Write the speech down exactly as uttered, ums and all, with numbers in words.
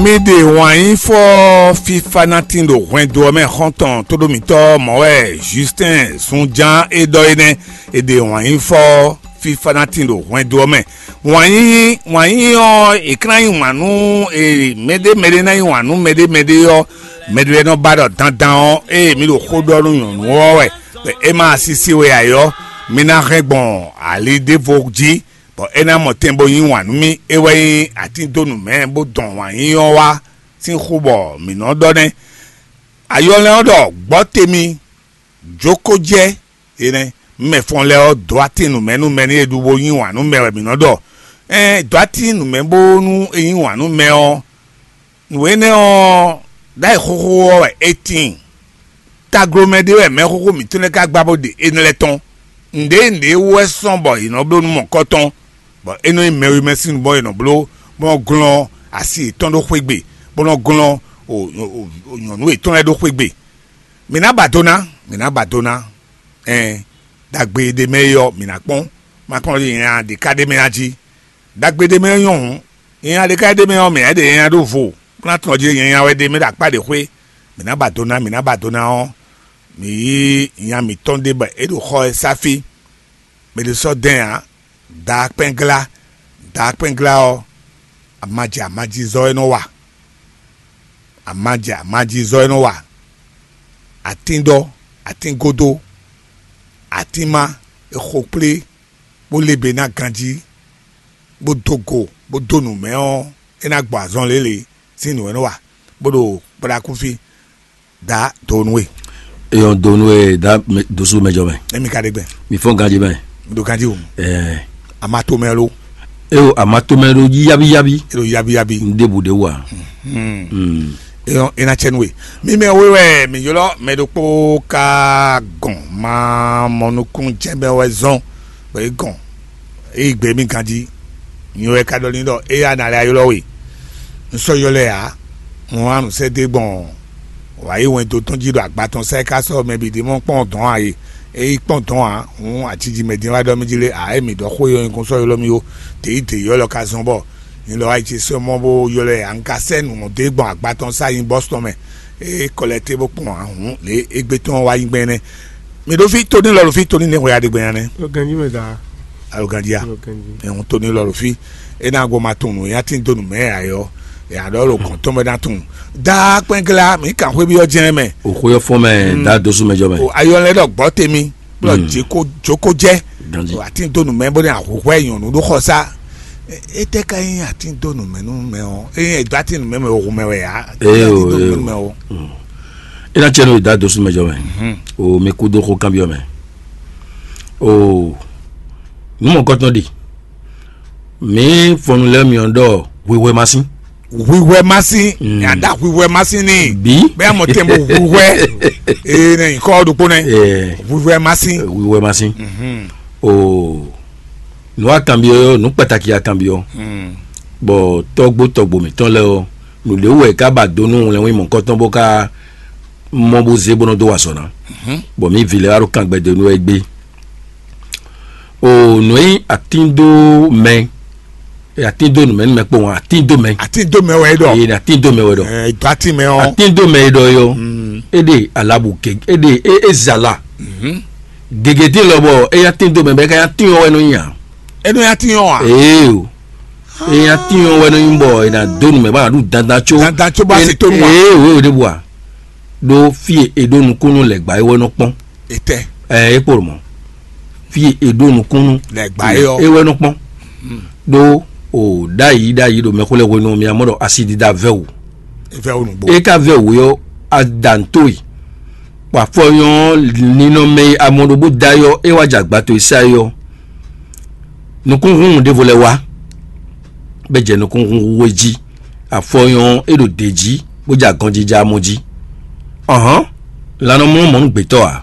Mi ɖe wǎnyífɔ fífá ná tín ɖo hwɛndo ɔ́ mɛ xɔ́ntɔn tóɖómítɔ́ mɔ̌ wɛ Justin Sunjan é ɖɔ é nɛ́. È ɖe wǎnyífɔ fífá ná tín ɖo hwɛndo ɔ́ mɛ. Wǎnyí wǎnyí ɔ́, è ka ná yí wǎn nú mɛɖé mɛɖé ná yí wǎn nú mɛɖé mɛɖé ɔ́, mɛɖé lɛ́ɛ nɔ ba ɖɔ dandan ɔ́, ée mi ɖo xó ɖɔ nú nyɔ̌nu ɔ́ wɛ, bɔ é ma sisi we ǎ ɔ́, mi ná hɛn gbɔn ali ɖěvo jí, bɔ é ná mɔ tɛn bó yí wǎn nú mì. É wɛ nyí atíndónú mɛ bó dɔn wǎnyí ɔ́ wá sín xó bɔ mǐ nɔ ɖɔ nɛ́. Ayɔlɛ́ ɔ́ ɖɔ gbɔ̌ te mi jókòjɛ́ é nɛ́. Mɛ fɔ́n lɛ́ɛ ɔ́ dó atín nǔmɛnúmɛ nú yě ɖu bó yí wǎn nú mɛ wɛ mǐ nɔ ɖɔ. Ɛn dó atín nǔmɛ bónú é yí wǎn nú mɛ ɔ́, nǔ énɛ́ ɔ́, ɖ'ayǐ xóxó ɔ́ wɛ é tíin. Taglomɛ ɖé wɛ mɛxóxó mǐtɔn lɛ́ɛ ka gbá bó ɖe énɛ́ lɛ́ɛ tɔn. Nǔɖé nǔɖé wú wɛ sɔ́n bɔ yě nɔ bló nú mɔ̌kɔtɔn, bɔ é nɔ nyí mɛwémɛsin bɔ yě nɔ bló, bó nɔ glɔ́n asi yětɔn ɖó xwé gbe, bó nɔ glɔ́n o- o- o- nyɔ̌nu yětɔn lɛ́ɛ ɖó xwé gbe. Mǐ ná ba do ná, mǐ ná ba do ná. Ɛn, ɖagbe e ɖ'é mɛ é ɔ́, mǐ ná kpɔ́n. Ma kpɔ́n ɖɔ nya ɖě ká ɖ'é mɛ a jí. Ɖagbe ɖ'é mɛ nyɔ́ hǔn, nya ɖě ká ɖ'é mɛ ɔ́, mǐ ná ɖe nya ɖó vo, bó ná tunwun ɔ́ jí nya wɛ ɖ'é mɛ ɖo akpá ɖě xwé. Mǐ ná ba do ná, mǐ ná ba do ná ɔ́, mǐ yí nya mǐtɔn ɖé bɔ é ɖo xɔ ɛ sá fí. Mɛ ɖé sɔ́ dɛn ǎ. Daakpɛ́nglá, daakpɛ́nglá ɔ́, amajɛ amajizɔ́ é nɔ wa. Amajɛ amajizɔ́ é nɔ wa. Atínɖɔ, atíngódó, atínma e xo kplé bó lé be ná ganjí, bó dó go, bó dó nǔ mɛ ɔ́, é ná gbɔ azɔn lě lě sín nǔ e nɔ wa, bó ɖo kplá kú fí. Dǎ do nú we. Eyɔn do nú we dá dusú mɛ jɔ mɛ. Emi ka ɖe gbɛ. Mi fɔn ganji mɛ. Mi ɖo ganji o. Ɛɛ. A ma to mɛ lo. Eyo a ma to mɛ lo yábíyábí. E ɖo yábíyábí. N ɖebu ɖe wa. Hmm. Hmm. Eyɔn e na cɛ nú we. Mi mɛ we wɛ mi ylɔ mɛ ɖokpó ka gɔn ma mɔ nukún jɛ mɛ wɛ zɔn. Bɔ e gɔn. Ée gbe mì ganjí. Nyɛ wɛ ka ɖɔ n'i ɖɔ éyɛ́ a nǎ lɛ́ ylɔ́ we. Un sɔ́ ylɔ́ ɛ ǎ. Un wlán nǔ sɛ́ dó e gbɔn wǎ yi wɛn dó tɔn jí ɖo agba tɔn sá e ka sɔ́ mɛ bǐ ɖe mɔ kpɔ́n dɔ̌n ǎ e. É yi kpɔ́n dɔ̌n ǎ, hǔn aciji mɛ din wá ɖɔ mì jí lé ǎ, é mǐ ɖɔ xó e nyɔ́ nyǐkɔ́n sɔ́ ylɔ́ mì ó. Tě yi dě ylɔ́ ka zɔ́n bɔ nyɛ lɔ wá yi ce sɔ́ mɔ bó ylɔ́ ɛ ǎ. Un ka sɛ́ nǔ mɔ dó e gbɔn agba tɔn sá yi bɔ́sitɔn mɛ. É kɔ lɛ́ té bó kpɔ́n ǎ, hǔn lě égbé tɔn wá yi gbɛn nɛ́. Mi ɖo fí tóní lɔ ɖo fí tóní ní hwɛ aɖegbɛ nya nɛ. Lo ganji mɛ da. Alo ganji ya. Lo ganji. Ɛhun tóní lɔ ɖo fí. E na gbɔ ma tunnu ya tin donu mɛ ayɔ. Ya ɖɔ lo kɔn tɔn bɛ na tunnu. Daa kpɛngla mi kan hwe bi ɔ jɛn mɛ. O xo yɔ fɔ mɛ da dosu mɛ jɔ mɛ. O ayɔ lɛ ɖɔ gbɔ temi. Kplɔ jeko joko jɛ. Ganji. O atin donu mɛ bó ne ahuhwɛ nyɔnu ɖo xɔ sa. Ete ka yin atin donu mɛ nu mɛ ɔ. Eye do atin nu mɛ mɛ o hu mɛ wɛ ya. Ee o ee o. E na cɛ nu da dosu mɛ jɔ mɛ. O mi ku do xo kanbiɔ mɛ. O nu mɔkɔtɔn ɖi. Mi fɔnu lɛ mi ɔ ɖɔ hwihwɛ ma sin. Hwihwɛ ma sin. Yàda hwihwɛ ma sin ni. Bi. Bẹ́ẹ̀ mọ̀ tẹ́ mo hwihwɛ. Ee ne nkɔ ɖokpo nɛ. Ɛɛ. Hwihwɛ ma sin. Hwihwɛ ma sin. O nu akanbiɔ yɔ nu pàtàkì akanbiɔ. Bɔ tɔgbo tɔgbo mǐtɔn lɛ ɔ nu ɖe wɛ ká ba do nú wlɛnwí mɔkɔtɔn bó ká mɔ bó zé bó nɔ dó wa sɔ ná. Bɔ mí vi lɛ wá ɖo kangbɛ dó nú wɛ gbé. O nǔ e nyí atíndó mɛ atíndó nǔmɛnúmɛ kpó wọn atíndó mɛ. Atíndó mɛ wɛ ɖɔ. Ee atíndó mɛ wɛ ɖɔ. Ɛ dɔ atí mɛ ɔ. Atíndó mɛ e ɖɔ yɔ. E ɖe alabu ke e ɖe e e zala. Gègé dín lɔ bɔ e atíndó mɛ bɛ ka atín ɔ wɛ nɔ nya. E nɔ atín ɔ wa. Ee o. E atín ɔ wɛ nɔ nyi bɔ e na dó nǔmɛ bá na ɖu dandan tso. Dandan tso bá se tó nu wa. Ee o e o de bu wa. Ɖó fí e è ɖó nukúnnú lɛ̌gbá é wɛ nɔ kpɔ́n. Etɛ. Ɛ é kpo mɔ. Fí e è ɖó nukúnnú Lɛ̌gbá é ɔ. É wɛ nɔ kpɔ́n. Ɖó o ɖ'ayǐ ɖ'ayǐ ɖo mɛxó lɛ́ɛ hwenu ɔ́, mi amɔ ɖɔ asidida vɛ́ wǔ. Evɛ wo nugbo. É ka vɛ́ wǔ ɔ́, adantoe. Bɔ afɔnyɔ́ ninɔmɛ e amɔ ɖo bó da é ɔ́, é wá jɛ agba towe sá é ɔ́. Nukúnhún ɖěvo lɛ́ɛ wá, bɔ é jɛ nukúnhún hu é jí. Afɔnyɔ́ ɔ́, é ɖo dě jí, bó jɛ agɔnjijɛ amɔ jí. Ɔ̌hɔ́n, lan nɔ mlɔ́ mɔ̌ nú gbětɔ́ ǎ.